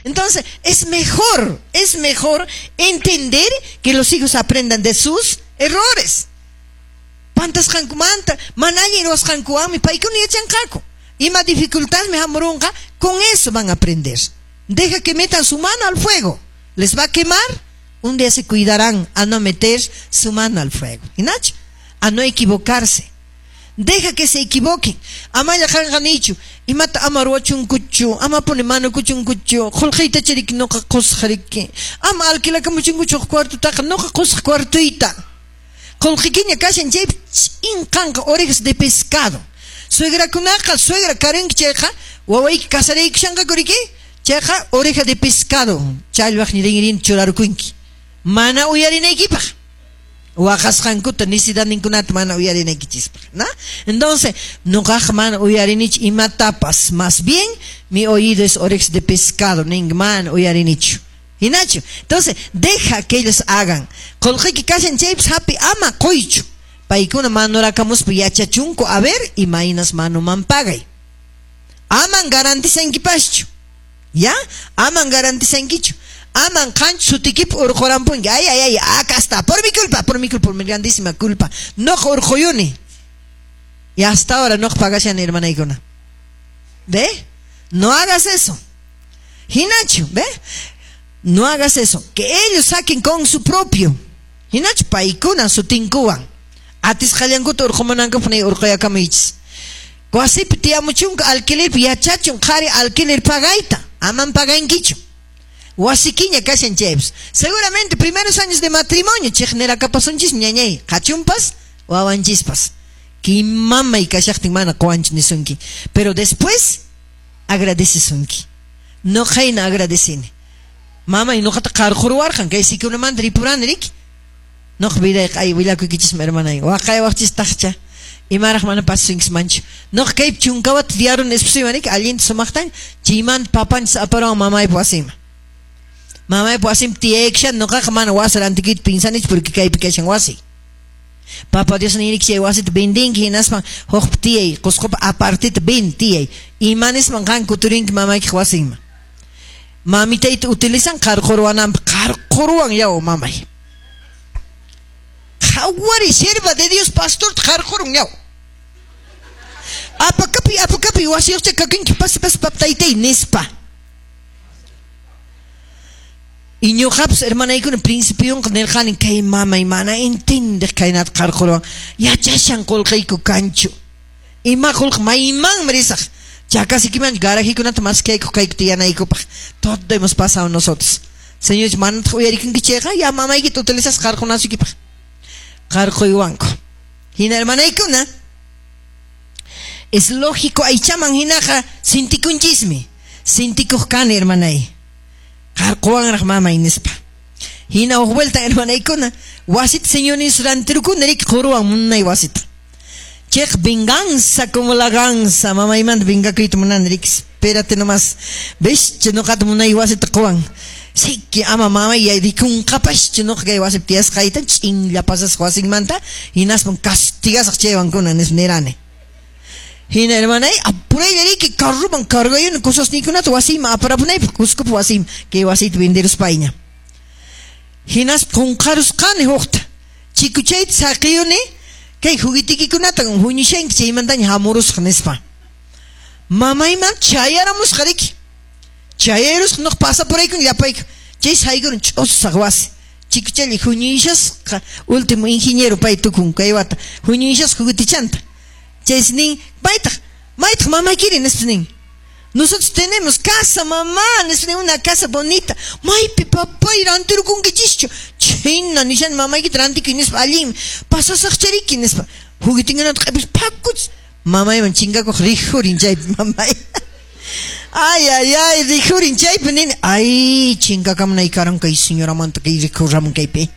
Entonces, es mejor entender que los hijos aprendan de sus errores. Pantasqankumanta, mana allin ruwasqankuwanmi paykuna yachanqaku. Ima dificultadmi hamurunqa, con eso van a aprender. Deja que metan su mano al fuego. Les va a quemar. Un día se cuidarán a no meter su mano al fuego. Hinachu? A no equivocarse. Deja que se equivoquen. Amalla qanqa niychu. Imata ama ruwachunkuchu, amapuni manukuchunkuchu, qullqiyta chariki nuqa qusaq riki. Ama alquilakamuchunkuchu huk cuartutaqa, nuqa qusaq cuartuyta. Qullqikiña kashan chaypi ch'in qanqa orejas de pescado. Suegrakunaqa, suegra karinki chayqa, wawayki casaraykushanqaku riki, chayqa oreja de pescado challwaq rinrin churarkunki. Mana uyarinaykipaq. Waqasqankuta necesidadninkunata mana uyarinaykichispaq, ¿no? Entonces, nuqaqa mana uyarinichu imatapas, más bien mi oído es orejas de pescado, nin mana uyarinichu. Hinachu. Entonces, deja que ellos hagan. Qullqiyki kashan chaypas hapi ama quychu. Paykuna manurakamuspa yachachunku, a ver, imaynas manuman pagay. Aman garantizankipaschu. ¿Ya? Aman garantizankichu. Aman qanchu sutikipi urqurampunki. Ay, ay, ay, acá está. Por mi culpa, por mi culpa, por mi grandísima culpa. No urquyuni. Y hasta ahora no pagashani, hermanaykuna. ¿Ve? No hagas eso. Hinachu, ¿ve? No hagas eso. Que ellos saquen con su propio. Hinachu, paykuna sutinkuwan. Atisqallankuta urqumunankupaq ni urquyakamaychis. Wasipi tiyamuchunka alquilerpi yachachun qhari alquiler pagayta. Aman pagankichu. Wasikiña kashan chaypas. Seguramente primeros años de matrimonio chiqnirakapasunchis ñañay. Qachunpas, wawanchispas. Kimamay kashaqtin mana quwanchu nisunki. Pero después agradecesunki. Nuqayna agradecini. Mamay nuqata qarquruwarqan kay sikunamanta ripurani riki. Nuqa vidayqa ay willakuykichismi hermanay. Waqaywaqchis taqcha. Imaraq mana pasunkis manchu. Nuqa kaypi chunkawata tiyaruni esposuywan riki allinta sumaqtan chaymanta papanchis aparuwan mamaypa wasinman. Mamaypa wasinpi tiyaykushan nuqaqa mana wasi rantikuyta pinsanichu porque kaypi kashan wasi. Papa Dios niriki chay wasita vendinki hinaspan hukpi tiyay, Qusqupi apartita ven tiyay. Ima nispan qan kuturinki mamaykiq wasinman. Mamitayta utilizan qarquruwananpaq, qarquruwan yaw mamay. Qhawari sierva de Dios pastorta qarqurun yaw. Apakapi, apakapi wasiyuqcha kakinki pasi pasi paptaytay nispa. Y ñuqapas hermanaykuna principionqa nirqani kay mamay mana entendiq kaynata qarquruwan. Yachashan qullqiyku kanchu. Ima qullqi maymanmi risaq. Chakasikimanchu garajikunata maskaykuq kayku tiyanaykupaq. Todo hemos pasado nosotros. Señor, manataq uyarikunki chayqa ya mamaykita utilizas qarqunasukipaq. Qarquywanku. Hina hermanaykuna, es lógico aychaman hinaqa sintikunchismi. Sintikuq kani hermanay. Qarquwanraq mamay nispa. Hina huk vuelta hermanaykuna, wasita señores rantirukuna riki quruwan munay wasita. Chayqa venganza como la ganza, mamaymanta vengakuyta munani riki, espérate nomás. ¿Ves? Nuqata munay wasita quwan. Siki ama mamay rikunqapaschu nuqa kay wasipi tiyasqayta ch'inlla pasasqa wasinmanta hinaspan castigasaq chaywankuna nispa nirani. Hina hermanay, apuraylla riki carroman cargayuni cosasniykunata wasiyman aparapunaypaq Cuscopi wasiyman kay wasiyta venderuspayña. Hinaspa qunqarusqani hukta. Chikuchayta saqiyuni kay juguetikikunata huñushanki chaymantaña hamurusqa nispa. Mamayman chayaramusqa riki. Chayarusqa nuqa pasapuraykun llapayku. Chay saykurun ch'usaq wasi. Chikuchalla huñuyshasqa último ingeniero pay tukun kay wata. Huñuyshasqa juguetichanta. Chaysi nin, maytaq, maytaq mamaykiri nispa nin. Nosotros tenemos casa, mamá, nispa nin, una casa bonita. Maypi papay rantirukunkichischu. Chhayna nishani mamaykita rantikuy nispa allinmi. Pasasaqchariki nispa. Juguetinkunata q'ipis phakuch. Mamayman chinkakuq rijurin chaypi mamay. Ay, ay, ay, rijurin chaypi nini. Ay, chinkakamunay karan kay señoramanta kay rikuramun kaypi.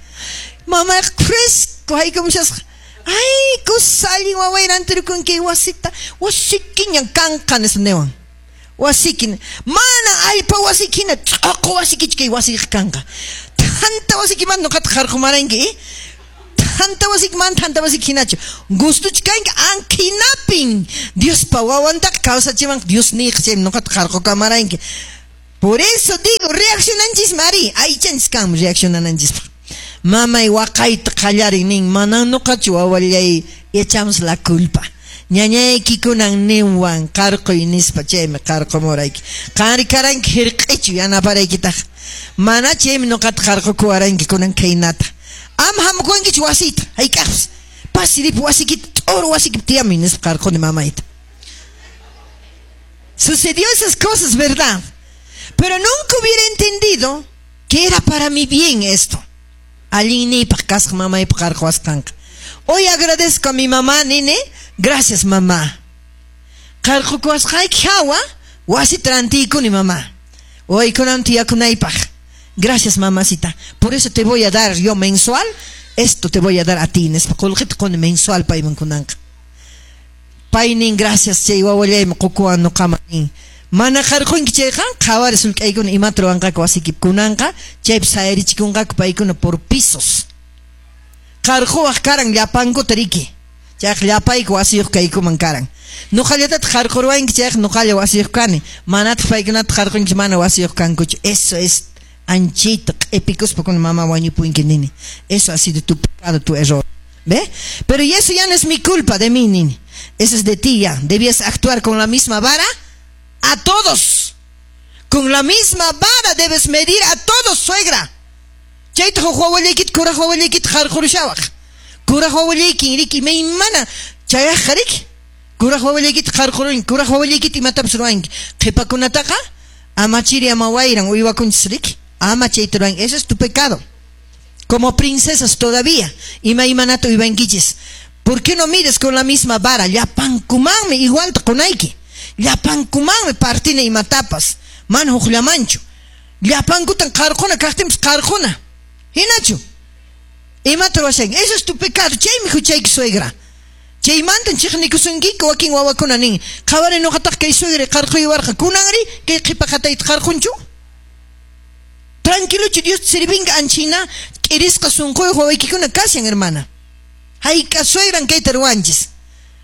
Mamayqa fresco haykamushasqa. Ay, kusa allin waway rantirukunki wasita. Wasikiñan kanqa nispa niwan. Wasikin. Mana allpa wasikina ch'uqu wasikichu kay wasiyqa kanqa. Thanta wasikimanta nuqata qarqumaranki, eh? Thanta wasikimanta thanta wasiki hinachu. Gustuchu kanki ankinapin. Diospa wawantaqa kawsachimanqa Dios niyqa chaymi nuqata qarqukamaranki. Por eso digo, reaccionanchis mari, aychanchis kanmi reaccionananchispaq. Mamay waqayta qallarin nin, manan nuqachu wawallay, echamos la culpa. Ñañaykikunan ninwan qarquy nispa, chaymi qarqumurayki. Qanri karanki hirq'ichu yanaparaykitaq. Mana chaymi nuqata qarqukuwaranki kunan khaynata. Ama hamukuwankichu wasiyta, hayk'aqpas. Pasiripi wasikita, t'uru wasikipi tiyamuy nispa qarquni mamayta. Sucedió esas cosas, ¿verdad? Pero nunca hubiera entendido que era para mi bien esto. Allinniypaq kasqa mamaypa qarquwasqanqa. Hoy agradezco a mi mamá, nene. Gracias, mamá. Qarqukuwasqayki hawa, wasita rantiykuni, mamá. Wawaykunawan tiyakunaypaq. Gracias, mamacita. Por eso te voy a dar yo mensual, esto te voy a dar a ti, nispa qullqita quni mensual payman kunanqa. Pay nin, gracias chay wawallaymi qukuwan nuqaman nin. Mana qarqunki chayqa, qhawari sullk'aykuna imata ruwanqaku wasikipi kunanqa, chaypi sayarichikunqaku paykuna por pisos. Qarquwaq karan llapankuta riki. Chayqa llapayku wasiyuq kaykuman karan. Nuqallatataq qarquruwanki chayqa nuqalla wasiyuq kani. Manataq paykunata qarqunki mana wasiyuq kankuchu. Eso es anchita q'ipikuspa kuna mamá wañupunki nini. Eso ha sido tu pecado, tu error. ¿Ve? Pero y eso ya no es mi culpa de mí, nini. Eso es de ti ya. Debías actuar con la misma vara a todos. Con la misma vara debes medir a todos, suegra. Chayta huk wawallaykita, kuraq wawallaykita qarqurushawaq. Kuraq wawallaykin riki imaymana chayaqqa riki. Kuraq wawallaykita qarqurunki, kuraq wawallaykita imatapas ruwanki. Qhipakunataqa ama chiri ama wayran uywakunchis riki. Ama chayta ruwanki. Eso es tu pecado. Como princesas todavía imaymanata uywankichis. ¿Por qué no mides con la misma vara? Llapankumanmi igualta qunayki. Llapankumanmi partina imatapas. Mana hukllamanchu. Llapankutan qarquna kaqtinpas qarquna. Hinachu? Imata ruwashanki? Eso es tu pecado. Chaymi huchayki, suegra. Chaymantan chiqnikusunkiku wakin wawakuna nin. Qhawari nuqataq kay suegra qarquywarqa. Kunanri kay qhipa qatayta qarqunchu? Tranquilochu Dios sirvinqa anchina k'irisqa sunquyuq wawaykikuna kashan, hermana. Hayk'a suegran kayta ruwanchis.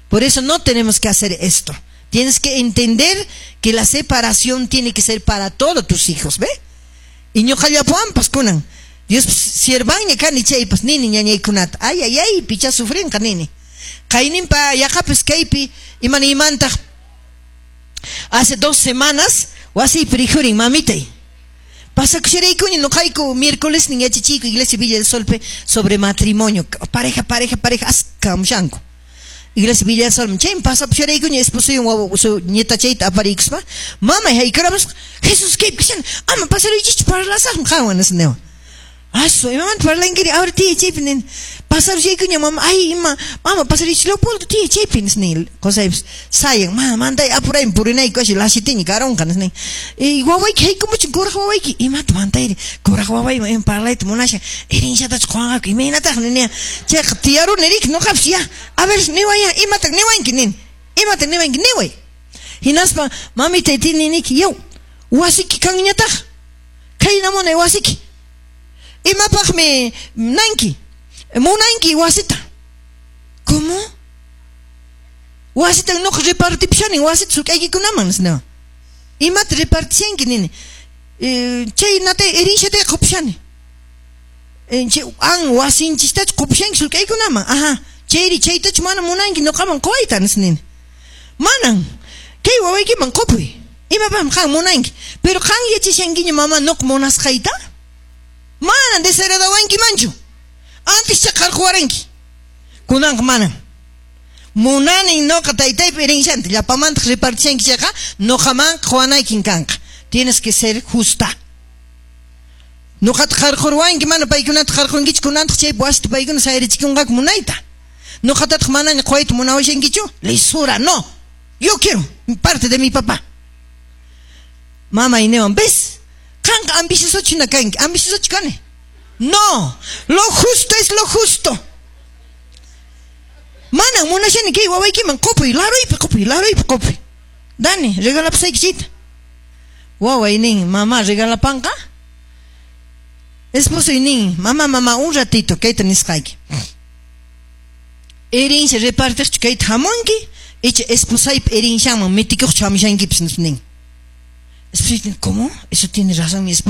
Por eso no tenemos que hacer esto. Tienes que entender que la separación tiene que ser para todos tus hijos, ¿ve? Y ñuqallapuanpas kunan. Dios siervanña kani chaypas nini ñañaykunata. Ay, ay, ay, picha sufrinqa nini. Qayninpa yaqapis kaypi imanaymantaq hace 2 semanas wasiypi rikhurin mamitay. Pasakusharaykuña nuqayku miércoles nin yachachiyku Iglesia Villa del Solpe sobre matrimonio. Pareja, pareja, pareja, askamushanku. Iglesia Villa del Sol, chaymi pasapusharaykuña esposoywan wawa su nietachayta apariykuspa. Mamay haykaramusqa, Jesús kaypi kashan, ama pasaruychischu parlasaqmi qanwan nispa niwan. Asu, imamanta parlankiri? Ahora tiya chaypi nin. Pasarushaykuña mama, ay ima, mama pasaruychis Leopoldo tiya chaypi nis nin. Qosaypis sayan, ma manday apuraymi purinayku así lasitiña karonqa nis nin. Y wawayki haykumuchun kuraq wawayki, imata mantayri? Kuraq wawayman ima parlayta munashan, herenciatachu quwanqaku, imaynataq ninia. Chayqa tiyaruni riki nuqapis ya, a ver niway ya, imata niwanki nin. Imata niwanki niway. Hinaspa mamitay tininiki, yaw, wasiki kanñataq. Khayna munay wasiki. Imapaqmi nanki, munanki wasita. ¿Cómo? Wasita nuqa repartipushanin, wasita suk'aykikunaman nispa. Imata repartishanki nini. Chay natay herenciatay qupushani. Chay an wasinchistachu qupushanki sulk'aykunaman. Ajá. Chayri chaytachu mana munanki nuqaman quwayta nispa nini. Manan. Kay wawaykiman qupuy. Imapaqmi qan munanki. Pero qan yachashankiña mama nuqa munasqayta? Manan desheredawankimanchu. Antes cha qarquwaranki. Kunanqa manan. Munanin nuqa taytaypa herencianta llapamantaq repartishanki chayqa nuqaman quwanaykin kanqa. Tienes que ser justa. Nuqata qarquruwanki mana paykunata qarqunkichu kunantaq chay wasita paykuna sayarichikunqaku munayta. Nuqatataq manaña quwayta munawashankichu? Lisura, no. Yo quiero parte de mi papá. Mamay niwan, ¿ves? Qanqa ambiciosochu hina kanki, ambiciosochu kani. No, lo justo es lo justo. Manan munashani kay wawaykiman qupuy, laruypi qupuy, laruypi qupuy. Dani, regalapusayki chayta. Waway nin, mamá regalapanqa? Esposoy nin, mamá, mamá, un ratito, kayta nisqayki. Herencia repartiqchu kayta hamunki, icha esposaypa herencianman mitikuqchu hamushankipis nispa nin. ¿Cómo? Eso tiene razón mi esposo.